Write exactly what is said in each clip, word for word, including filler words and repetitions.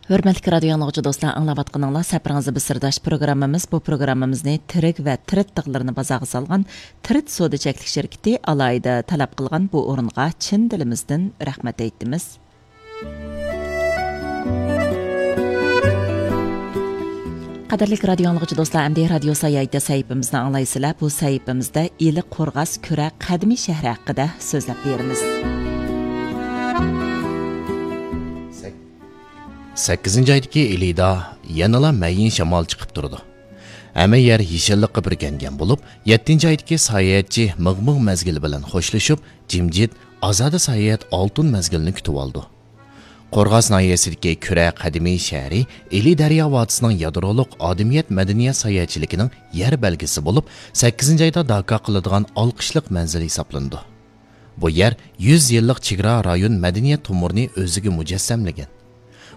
ھۆرمەتلىك رادىيو ئاڭلىغۇچى دوستلار، ئاڭلاۋاتقىنىڭلار سەپىرىڭىزدە بىز سىرداش پروگراممىمىز. بۇ پروگراممىمىزنى تىرىك ۋە تىرىت تىغلىرىنى بازارغا سالغان تىرىت سودا چەكلىك شىركىتى ئالاھىدە تەلەپ قىلغان بۇ ئورۇنغا چىن دىلىمىزدىن رەھمەت ئېيتىمىز. قەدىرلىك رادىيو ئاڭلىغۇچى دوستلار، ئەمدى رادىيو ساياھىتى سەھىپىمىزنى ئاڭلايسىلەر. بۇ سەھىپىمىزدە ئىلى قورغاس كۈرە قەدىمىي شەھىرى ھەققىدە سۆزلەپ بېرىمىز. سەككىزىنچى ئايدىكى ئىلىدا يەنىلا مەيىن شامال چىقىپ تۇرىدۇ. ھەممە يەر يېشىللىققا بۈركەنگەن بولۇپ، يەتتىنچى ئايدىكى ساياھەتچى مىغ-مىغ مەزگىلى بىلەن خوشلىشىپ، جىمجىت، ئازادە ساياھەت ئالتۇن مەزگىلىنى كۈتۈۋالىدۇ. قورغاس ناھىيەسىدىكى كۈرە قەدىمىي شەھىرى ئىلى دەريا ۋادىسىنىڭ يادرولۇق ئادىمىيەت مەدەنىيەت ساياھەتچىلىكىنىڭ يەر بەلگىسى بولۇپ، سەككىزىنچى ئايدا داكا قىلىدىغان ئالقىشلىق مەنزىل ھېسابلىنىدۇ. بۇ يەر يۈز يىللىق چېگرا رايون مەدەنىيەت تومۇرىنى ئۆزىگە مۇجەسسەملىگەن.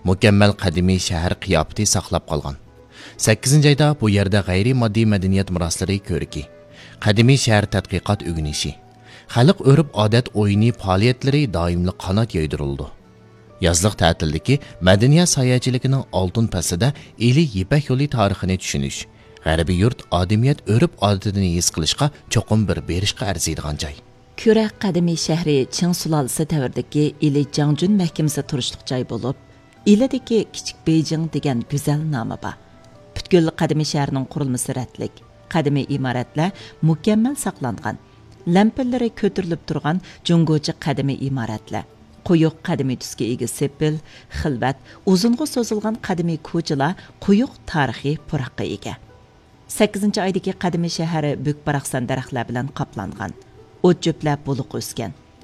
مۇكەممەل قەدىمىي شەھەر قىياپىتى ساقلاپ قالغان. سەككىزىنچى ئايدا بۇ يەردە غەيرىي ماددىي مەدەنىيەت مىراسلىرى كۆرىكى، قەدىمىي شەھەر تەتقىقات ئۆگىنىشى، خەلق ئۆرپ-ئادەت ئويۇنى پائالىيەتلىرى دائىملىق قانات يايدۇرۇلىدۇ. يازلىق تەتىلدىكى مەدەنىيەت ساياھەتچىلىكىنىڭ ئالتۇن پەسلىدە ئىلى يىپەك يولى تارىخىنى چۈشىنىش، غەربىي يۇرت ئادەمىيەت ئۆرپ-ئادىتىنى ھېس قىلىشقا چوقۇم بىر بېرىشقا ئەرزىيدىغان جاي. كۈرە قەدىمىي شەھىرى چىڭ سۇلالىسى دەۋرىدىكى ئىلى جاڭجۈن مەھكىمىسى تۇرۇشلۇق جاي بولۇپ، ئىلىدىكى كىچىك بېيجىڭ دېگەن گۈزەل نامى بار. پۈتكۈل قەدىمىي شەھەرنىڭ قۇرۇلمىسى رەتلىك، قەدىمىي ئىمارەتلەر مۇكەممەل ساقلانغان، لەمپىلىرى كۆتۈرۈلۈپ تۇرغان جۇڭگوچە قەدىمىي ئىمارەتلەر، قويۇق قەدىمىي تۈسكە ئىگە سېپىل، خىلۋەت، ئۇزۇنغا سوزۇلغان قەدىمىي كوچىلار قويۇق تارىخىي پۇراققا ئىگە. سەككىزىنچى ئايدىكى قەدىمىي شەھەر بۈك-باراقسان دەرەخلەر بىلەن قاپلانغان. ئوت-چۆپلەر بولۇق ئۆسكەن.